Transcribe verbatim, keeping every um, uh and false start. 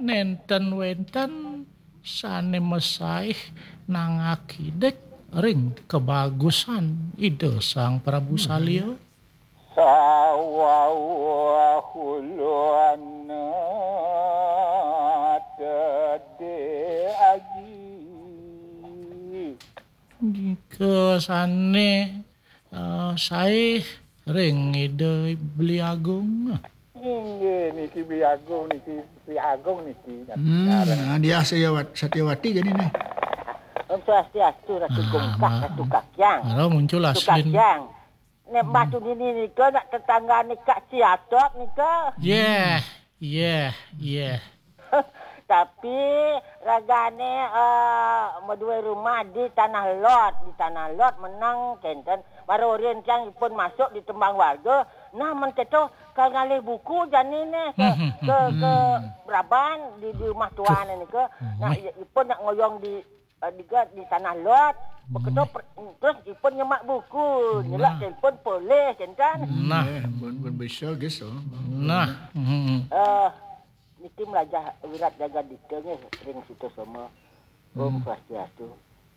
Nénten wénten sané masaih nangakidik ring kabagusan Ida Sang Prabu Salya. Nika sané, eh, saih ring Ida Beli Agung. Inggih niki Beli Agung niki, Beli Agung niki. Hmm, nah, dia Satyawat-, Satyawati jadi nih. Om Swastiastu, Ratu Gungkak, Ratu Kakyang. Ora muncul Ratu aslin. Kakyang. Nek batu nini nika nak tetanggane Kak Siatop nika. Yeh, yeh, yeh. Tapi ragane, eh, madué rumah di Tanah Lot, di Tanah Lot menang kenten. Baru rintiang ipun masuk di tembang warga. Nah, men keto kal ngalih buku jani neh ke, ke, ke Braban di, di rumah tuan nika. Nah, ipun nak ngoyong di, eh, di, di Tanah Lot. Beketo terus ipun nyemak buku, nyelak telepon polis kenten. Nah. Eh, pun, pun bisa guys. Nah. Eh, niki melajah wirat jaga dita nggih ring Sutasoma. Om Swastiastu.